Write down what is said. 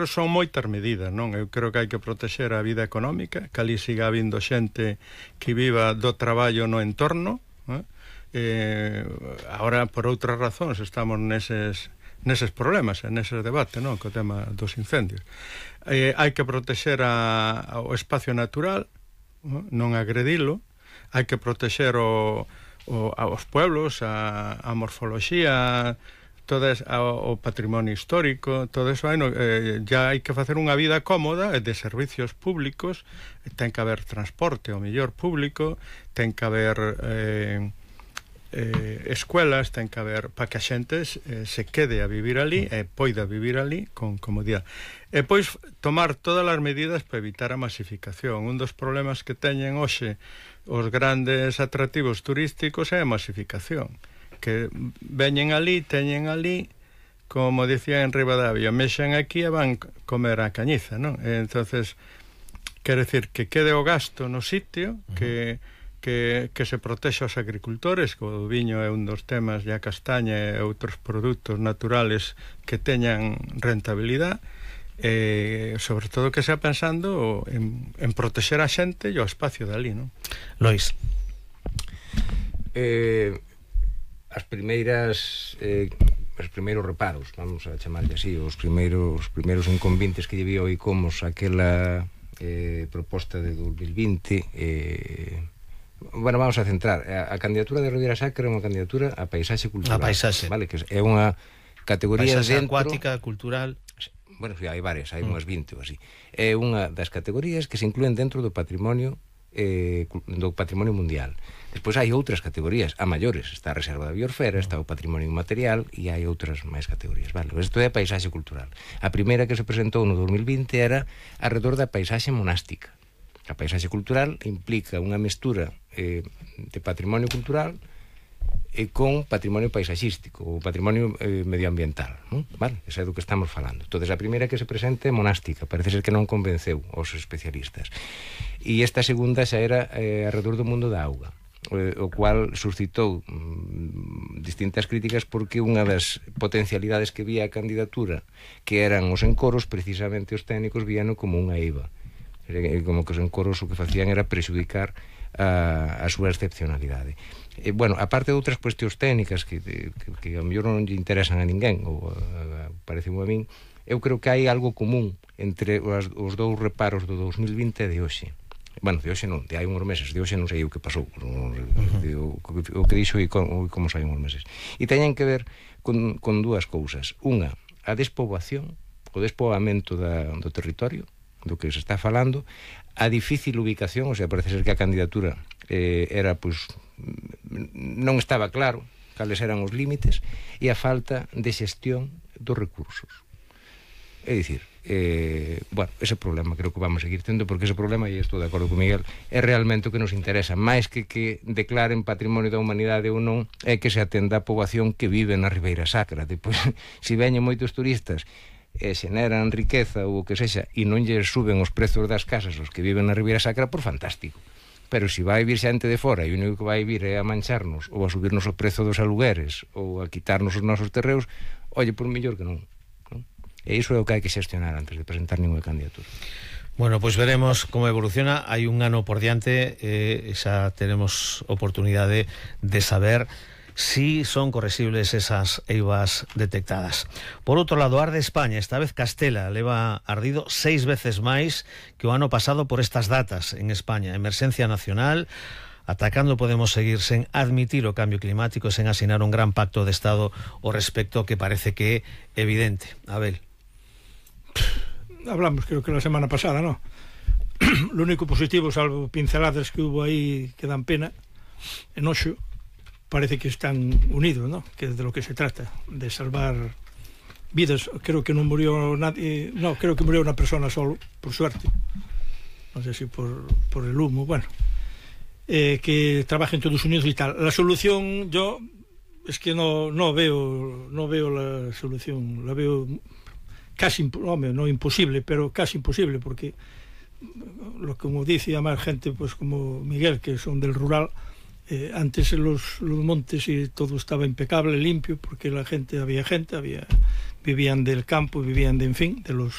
son moitas medidas, non? Eu creo que hai que protexer a vida económica, que ali siga habindo xente que viva do traballo no entorno, non? Agora, por outras razóns, estamos neses problemas, neses debates, non? Co tema dos incendios. Hai que protexer o espacio natural, non agredilo, hai que protexer aos pueblos, a morfoloxía, o patrimonio histórico, todo eso ya hai que facer unha vida cómoda de servicios públicos, ten que haber transporte ao mellor público, ten que haber escuelas, ten que haber para que a xente se quede a vivir ali e poida vivir ali con comodidade. E pois tomar todas as medidas para evitar a masificación. Un dos problemas que teñen hoxe os grandes atractivos turísticos é a masificación, que veñen ali, teñen ali, como dicía en Ribadavia, mexan aquí e van comer a cañiza, non? Entonces, quero decir que quede o gasto no sitio, que se protexa os agricultores, que o viño é un dos temas, e a castaña e outros produtos naturales que teñan rentabilidade, sobre todo que sea pensando en protexer a xente e o espacio dali, non? Lois. Os primeiros reparos, vamos a chamarlle así, os primeiros inconvenientes que lle vi ao ICOMOS aquela proposta de 2020, bueno, vamos a centrar a candidatura de Ribeira Sacra é unha candidatura a paisaxe cultural, a paisaxe, vale, que é unha categoría paisaxe dentro, acuática, cultural. Bueno, sí, hai varias, hai unhas 20 ou así. É unha das categorías que se inclúen dentro do patrimonio mundial. Despois hai outras categorías, a maiores, está a Reserva da Biosfera, está o patrimonio inmaterial e hai outras máis categorías, vale? Isto é a paisaxe cultural. A primeira que se presentou no 2020 era alrededor da paisaxe monástica. A paisaxe cultural implica unha mestura de patrimonio cultural con patrimonio paisaxístico ou patrimonio medioambiental, non? Vale? Esa é do que estamos falando. Entón, a primeira que se presente é monástica, parece ser que non convenceu aos especialistas. E esta segunda xa era alrededor do mundo da auga, o cual suscitou distintas críticas porque unha das potencialidades que vía a candidatura, que eran os encoros, precisamente os técnicos víano como unha eiva, como que os encoros o que facían era prexudicar a súa excepcionalidade. Bueno, aparte de outras cuestións técnicas que a mellor non lle interesan a ninguén, ou pareceme a min, eu creo que hai algo común entre os dous reparos do 2020 e de hoxe. Bueno, de hoxe non, de hai uns meses, de hoxe non sei o que pasou, o que dixo e como sai uns meses. E teñen que ver con dúas cousas. Unha, a despoboación, o despoboamento do territorio, do que se está falando, a difícil ubicación, o sea, parece ser que a candidatura era, pois, non estaba claro cales eran os límites, e a falta de xestión dos recursos. É dicir, bueno, ese problema creo que vamos a seguir tendo, porque ese problema, e estou de acordo con Miguel, é realmente o que nos interesa, máis que declaren patrimonio da humanidade ou non, é que se atenda a poboación que vive na Ribeira Sacra. Depois, se veñen moitos turistas e xeneran riqueza ou o que sexa e non lle suben os prezos das casas os que viven na Ribeira Sacra, por fantástico. Pero se vai vir xente de fora e o único que vai vir é a mancharnos ou a subirnos o prezo dos alugueres ou a quitarnos os nosos terreos, olle, por mellor que non. E iso é o que hai que xestionar antes de presentar ninguna candidatura. Bueno, pois veremos como evoluciona. Hai un ano por diante, xa teremos oportunidade de saber si son corresibles esas eivas detectadas. Por outro lado, arde España, esta vez Castela, leva ardido 6 veces máis que o ano pasado por estas datas en España. Emerxencia nacional, atacando podemos seguir sen admitir o cambio climático, sen asinar un gran pacto de Estado ao respecto que parece que é evidente. Abel. Hablamos, creo que la semana pasada, ¿no? Lo único positivo, salvo pinceladas que hubo ahí que dan pena, enoxo, parece que están unidos, ¿no? Que es de lo que se trata, de salvar vidas. Creo que no murió nadie, no, creo que murió una persona solo, por suerte. No sé si por el humo, bueno. Que trabajen todos unidos y tal. La solución, yo, es que no veo la solución, la veo casi, no imposible, pero casi imposible, porque, como dice más gente, pues como Miguel, que son del rural, Antes los montes y todo estaba impecable, limpio, porque había gente, vivían del campo, vivían de, en fin, de los